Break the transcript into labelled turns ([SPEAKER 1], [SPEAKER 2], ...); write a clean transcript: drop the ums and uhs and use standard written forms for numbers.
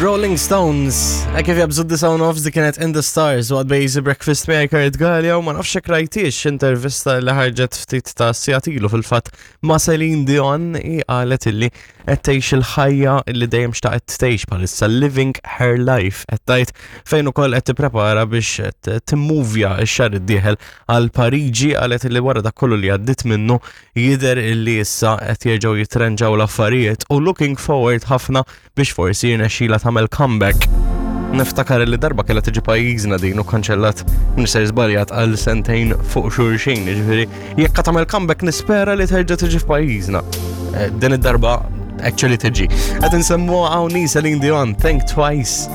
[SPEAKER 1] Rolling Stones, e kif jabżu d sound of di kienet In The Stars u għadbej Easy Breakfast miegħi Kurt Gallia u ma nafx hekk rajtix intervista li ħarġet ftit ta' sigħat ilu fil-fatt ma' Celine Dion i qalet illi qed tgħix il-ħajja li dejjem xtaqet tgħix bħalissa living her life qed tgħid fejn ukoll qed tipprepara biex timmuvja x-xahar id-dieħel għal Pariġi qalet li wara dak kollu li għaddiet minnu jidher illi issa qed jerġgħu jitrenġaw l-affarijiet u looking forward ħafna biex forsi jirnexxila tagħmel comeback. Niftakar li darba kellha tiġi pajjiżna din u kanċellat minn żbaljat għal sentejn fuq xulxin, jiġifieri jekk tagħmel comeback nispera li terġa' tiġi f'pajjiżna. Eh, din id-darba actually tiġi. Qed insemmu hawn Celine Dion, Think Twice.